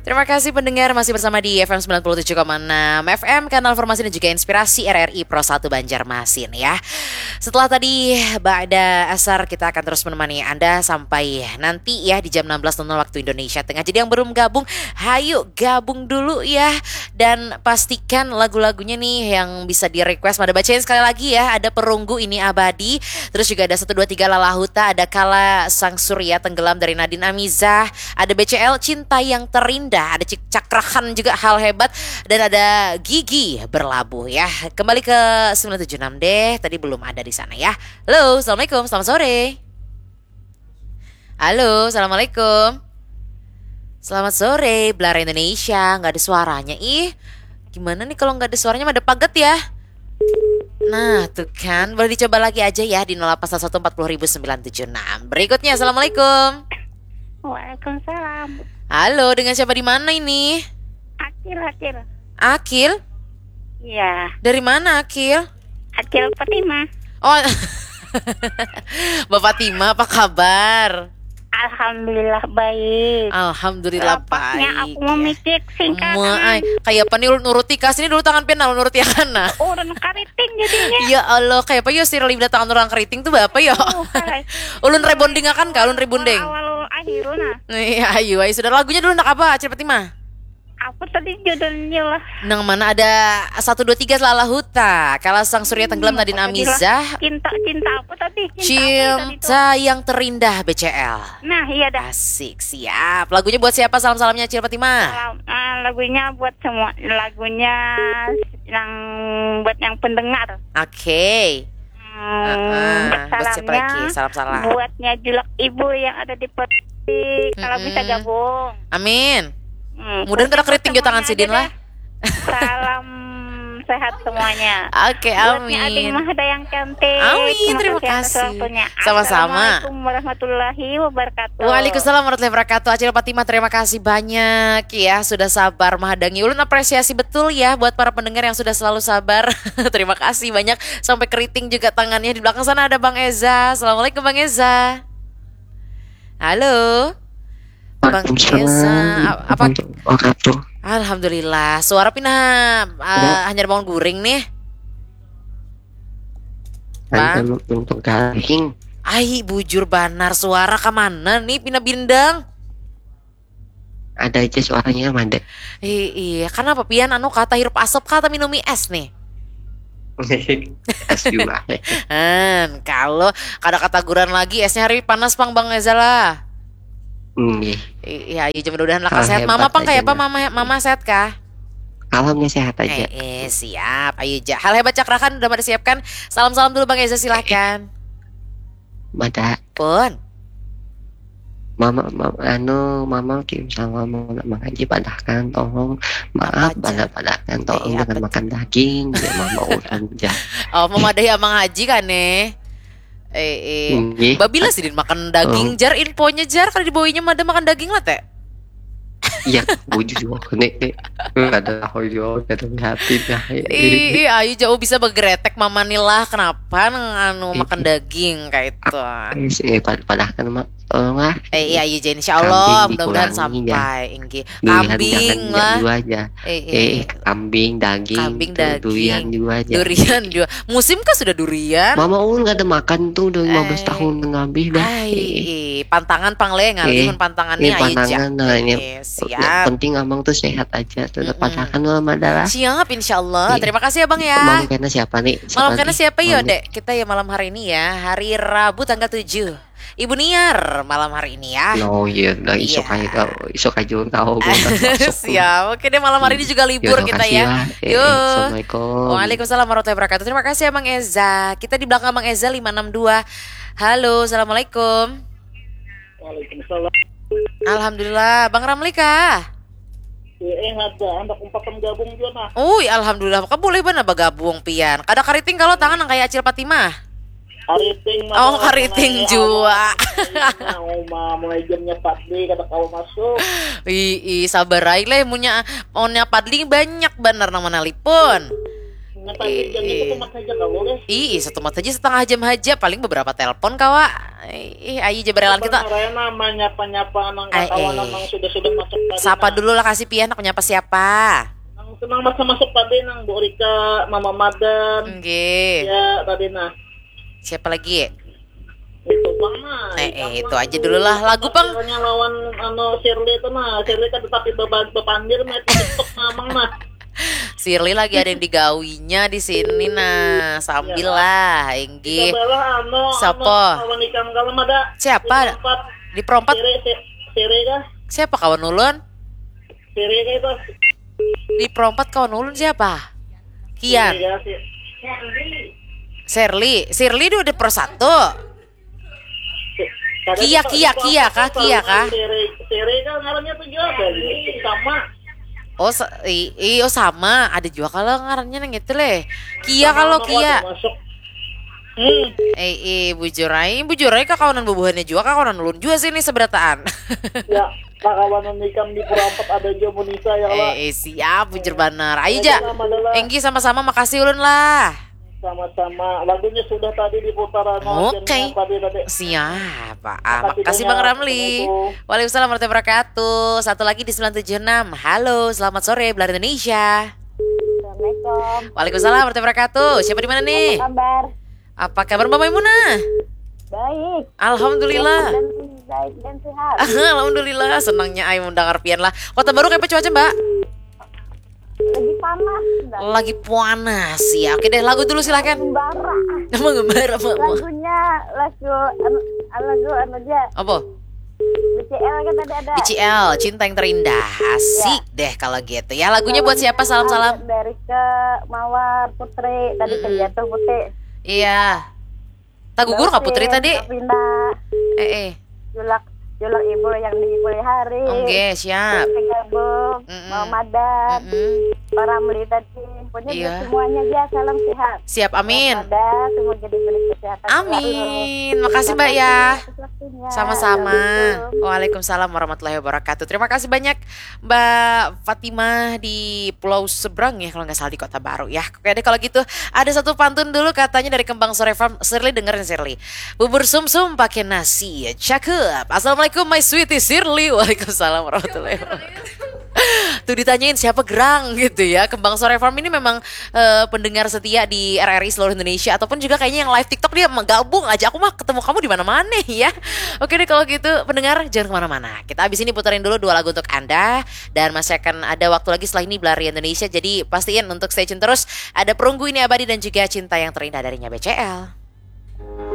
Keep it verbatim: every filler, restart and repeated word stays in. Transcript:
Terima kasih pendengar, masih bersama di F M sembilan puluh tujuh koma enam F M, kanal formasi dan juga inspirasi R R I Pro satu Banjarmasin ya. Setelah tadi Ba'da Asar, kita akan terus menemani Anda sampai nanti ya di jam enam belas nol nol waktu Indonesia Tengah. Jadi yang belum gabung, hayu gabung dulu ya. Dan pastikan lagu-lagunya nih yang bisa di-request. Mada bacain sekali lagi ya, ada Perunggu Ini Abadi, terus juga ada satu dua tiga Lalahuta, ada Kala Sang Surya Tenggelam dari Nadine Amizah, ada B C L Cinta Yang Terindah, ada Cik Cakrakan juga Hal Hebat, dan ada Gigi Berlabuh ya. Kembali ke sembilan tujuh enam deh, tadi belum ada di sana ya. Halo, assalamualaikum, selamat sore. Halo, assalamualaikum. Selamat sore, Belara Indonesia. Nggak ada suaranya, ih. Gimana nih kalau nggak ada suaranya, mada paget ya? Nah, tuh kan, boleh dicoba lagi aja ya di nol delapan satu satu empat puluh ribu sembilan tujuh enam. Berikutnya, assalamualaikum. Waalaikumsalam. Halo, dengan siapa di mana ini? Akil, Akil. Akil? Iya, Dari mana, Akil? Akil Fatimah. Oh, Mbak Fatimah, apa kabar? Alhamdulillah baik. Alhamdulillah Lapasnya baik. Aku memicik singkat. Maai, kayak apa nih ulun nuruti kas ini dulu tangan pian, nah, ulun nuruti akan nah. Orang kariting jadinya. Ya Allah, kayak apa ya sih, lidah tangan orang keriting tuh apa ya? Oh, hai. Ulun rebonding akan kah? Ulun rebonding. Awal akhir nah. Iya, ayo, ayo sudah, lagunya dulu nak apa, Acil Fatimah? Apa tadi judulnya lah? Nang mana ada satu dua tiga Lalahuta, Kala Sang Surya Tenggelam Nadine Amizah, Cinta, cinta apa tadi? Cinta apa tadi tuh? Cinta Yang Terindah B C L. Nah, iya dah. Asik, siap. Lagunya buat siapa? Salam-salamnya Acil Fatimah. Salam, eh, lagunya buat semua, lagunya yang buat yang pendengar. Oke. Hmm, Heeh, buat buat siapa salamnya, lagi? Salam-salam. Buatnya Julak Ibu yang ada di Persi, kalau Mm-mm. Bisa gabung. Amin. Hmm, Mudahan kada buat keriting jo tangan semuanya sidin aja lah. Deh. Salam sehat semuanya. Oke, Buatnya Ading amin. Mahda yang cantik. Amin, Terima terima kasih atas kasih. Waktunya. Sama-sama. Assalamualaikum warahmatullahi wabarakatuh. Waalaikumsalam warahmatullahi wabarakatuh. Acil Fatimah, terima kasih banyak ya sudah sabar mahadangi. Ulun apresiasi betul ya buat para pendengar yang sudah selalu sabar. Terima kasih banyak. Sampai keriting juga tangannya. Di belakang sana ada Bang Eza. Assalamualaikum Bang Eza. Halo. Bang Eza, a- apa? Wabarakatuh. Alhamdulillah. Suara pina uh, hanyar bangun guring nih. Ada untung garing. Ai, bujur banar, suara ka mana nih pina bindang? Ada aja suaranya, Mada. Iya, kenapa pian anu kata hirup asap kata minumi es nih? Es juga. Han, kalau kada kataguran lagi, esnya hari panas pang Bang Eza lah. Nggih. Iya, iya, jam mudah-mudahan lah Ah, sehat. Mama hebat pang kayak apa? aja. Mama, mama sehat kah? Alhamnya sehat aja. Eh, eh, siap. Ayo ja. Hal hebat cakrakan udah pada siapkan. Salam-salam dulu Bang Eza, silahkan. Mada, Pun. mama, mama, anu, mama kirim sama mama nak mengaji, padahkan tolong, maaf, Apa, pada padahkan tolong Iya, jangan apa, makan daging, ya mama urang ja. Oh, memadahi Amang Haji kan nih. Eh, eh. Nggih. Babila sidin makan daging, Oh. Jar, infonya, Jar, kada dibawainya mada makan daging lah, Teh. Iya, bujur juga nih. Ada tahu juga, ada hati dah. Ih, ih, ayo jauh bisa begeretek mama nih lah. Kenapa nang anu Ih. Makan daging kayak itu? Eh, pad- padahkan mak, tolong lah. Eh, iya, iya, insya Allah, Kambing mudah-mudahan dikurangi, ya. sampai, inggih. Durian Kambing jangan lah. dua aja. Eh, Eh, eh. Kambing, daging, Kambing, tu- daging. Durian dua aja. Durian dua. Musim kah sudah durian? Mama ulun kada makan tuh udah lima belas Eh. tahun lebih dah. Ai, Eh, eh, pantangan pang le ngalih Eh, mun pantangan ini nih, ayo pantangan, ja. Nah, ini Eh, yang siap. Penting abang tuh sehat aja, tetap Mm-mm. padahkan lah, Mada lah. Siap, insya Allah. Iya. Terima kasih, Abang, ya. Malam kena siapa nih? Malam Siapa kena nih? siapa ya, Malam- Dek? Kita ya malam hari ini ya, hari Rabu tanggal tujuh. Ibu Niar malam hari ini ya. No, iya, udah isuk Iya. aja kau, isuk aja kau, aku udah masuk. Siap. Oke deh, malam hari ini juga libur Yaudah, kita makasih ya. Eh, Yo. Assalamualaikum. Waalaikumsalam warahmatullahi wabarakatuh. Terima kasih, Abang Eza. Kita di belakang Abang Eza lima enam dua. Halo, assalamualaikum. Waalaikumsalam. Alhamdulillah, Bang Ramli kah? Eh, ada anak umpatan gabung juga nah. Ui, alhamdulillah, maka boleh banar bagabung pian. Kada kariting kalau tangan nang kayak Acil Fatimah. Kariting Oh, kariting jua. Nah, uma mulai jamnya empat D kada kawa masuk. Ih, ih, sabar aja lah, punya, punya padling banyak banar nang manalipun. Nah, tapi jam itu kumat saja kamu deh. Ih, satu mat saja setengah jam aja, paling beberapa telepon kawa. Ih, ayo aja berelan kita. Karena menyapa-nyapa nang kawan eh. Nang sudah-sudah masuk tadi. Sapa nah. Dulu lah kasih pian nak menyapa siapa? Nang senang masuk-masuk tadi nang Bu Rika, Mama Madan. Nggih. Ya, tadi nah. Siapa lagi? Itu bang nah. Eh, eh itu aja dulu lah lagu pang. Lawan anu Shirley itu nah, Shirley kan tetapi bepandir nah itu TikTok namang nah. Shirley lagi ada yang digawinya di sini nah, sambil ya. Lah, Enggi. Kita balah anu, siapa? Anu, kawan ikan kalau ada. Siapa? Di perompat. Di perompat. Sere, sere kah? Siapa kawan ulun? Sere kah itu? Di perompat kawan ulun siapa? Kian. Sere kah, si- Serli, Sirli dia udah pro satu. Kia kia kia kah kia kah? Sere kan ngarannya tuh juga sama. Oh, sa- i- iyo sama. Ada juga kalau ngarannya nang itu leh. Kia kalau kia. Masuk. Hmm. Eh, eh, bujur aja, bujur aja kakawanan bubuhannya juga, kakawanan ulun juga sih ini seberataan. Ya, kakawanan ikam di Purapat ada juga Munisa ya lah. Eh, eh, siap, bujur banar. Ayo ja. Enggi sama-sama, makasih ulun lah. Sama-sama. Lagunya sudah tadi diputar anu Oke. Tadi. Siap. Ah, makasih Bang Ramli. Waalaikumsalam warahmatullahi wabarakatuh. Satu lagi di sembilan tujuh enam. Halo, selamat sore Belar Indonesia. Assalamualaikum. Waalaikumsalam warahmatullahi wabarakatuh. Siapa di mana nih? Apa kabar? Apa kabar Mbak Maimunah? Baik. Alhamdulillah. Baik dan, baik dan sehat. Alhamdulillah, senangnya ai mendengar pian lah. Kota Baru kayak cuaca, Mbak? Lagi panas. Lagi panas ya. Oke deh, lagu dulu silahkan. Mengembara. Mengembara apa? Lagunya lagu anu lagu anu aja. Apa? B C L kan tadi ada. B C L, Cinta yang Terindah. Asik ya. Deh kalau gitu. Ya lagunya buat siapa? Salam-salam. Dari ke Mawar Putri tadi mm -mm. Jatuh Putri. Iya. Tagugur nggak Putri tadi? Pindah. Eh eh. Julak julak ibu yang di Pulihari. Oke, okay, siap. Gabung, mm -mm. Mama dan mm -mm. Para Meli tadi. Pokoknya iya. Semuanya aja salam sehat. Siap, amin. Ada semua jadi beri kesehatan. Amin. Makasih Mbak ya. Sama-sama. Waalaikumsalam warahmatullahi wabarakatuh. Terima kasih banyak Mbak Fatimah di Pulau Seberang ya kalau nggak salah di Kota Baru ya. Oke deh kalau gitu ada satu pantun dulu katanya dari Kembang Sore Farm. Sirli dengerin Sirli. Bubur sumsum pakai nasi. Cakep. Assalamualaikum my sweetie Sirli. Waalaikumsalam warahmatullahi wabarakatuh. Tuh ditanyain siapa gerang gitu ya. Kembang Sore Farm ini memang uh, pendengar setia di R R I seluruh Indonesia ataupun juga kayaknya yang live TikTok dia menggabung aja. Aku mah ketemu kamu di mana-mana ya. Oke deh kalau gitu pendengar jangan kemana-mana. Kita abis ini puterin dulu dua lagu untuk Anda dan masih akan ada waktu lagi setelah ini Belari Indonesia. Jadi pastiin untuk stay tune terus. Ada Perunggu Ini Abadi dan juga Cinta Yang Terindah darinya B C L.